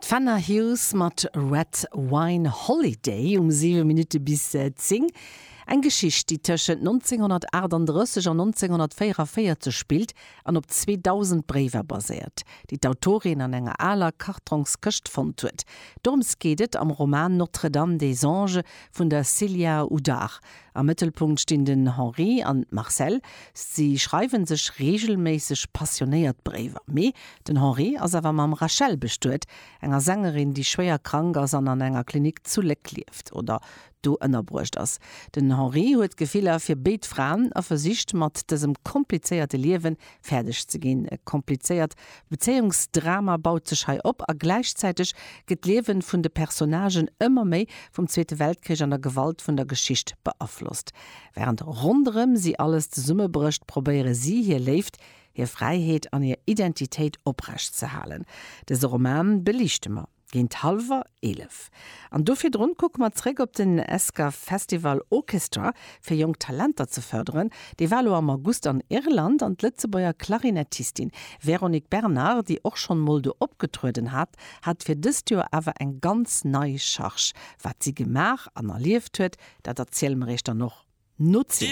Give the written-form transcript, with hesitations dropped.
D'Fenna Hughes mat Red Wine Holiday um 7 Minutte bis 10. Eng Geschicht, déi tëschent 1938 an 1944 spillt an op 2.000 Bréiwer baséiert, déi d'Autorin an enger aler Kartrongskëscht fonnt huet. Dorëms geet et am Roman Notre-Dame des Anges vun der Célia Houdart. Am Mëttelpunkt stinn den Henri an d'Marcelle. Si schreiwe sech reegelméisseg passionéiert Bréiwer. Mee den Henri ass awer mam Rachel bestuet, enger Sängerin, déi schwéier krank ass an an enger Klinik zu Léck lieft oder do ënnerbruecht ass. Den Henri huet Gefiller fir béid Fraen a versicht mat dësem komplizéierte Liewe fäerdeg ze ginn. E komplizéiert Bezéiungsdrama baut sech hei op a gläichzäiteg gëtt d'Liewen vun de Personnagen ëmmer méi vum Zweete Weltkrich an der Gewalt vun der Geschicht beaflosst. Wärend ronderëm si alles zesummebrécht, probéiere si hir Léift, hir Fräiheet an hir Identitéit oprecht ze halen. Dëse Roman beliichte mer. Géint hallwer 11. An do virdrun kucke mer zréck op den Esker Festival Orchestra fir jonk Talenter ze fërderen. Dee war elo am August an Irland an d'Lëtzebuerger Klarinettistin Véronique Bernard, déi och schonn mol do opgetrueden hat, hat fir dëst Joer awer eng ganz nei Charge. Wat si gemaach an erlieft huet, dat erziele mer iech dann och no 10.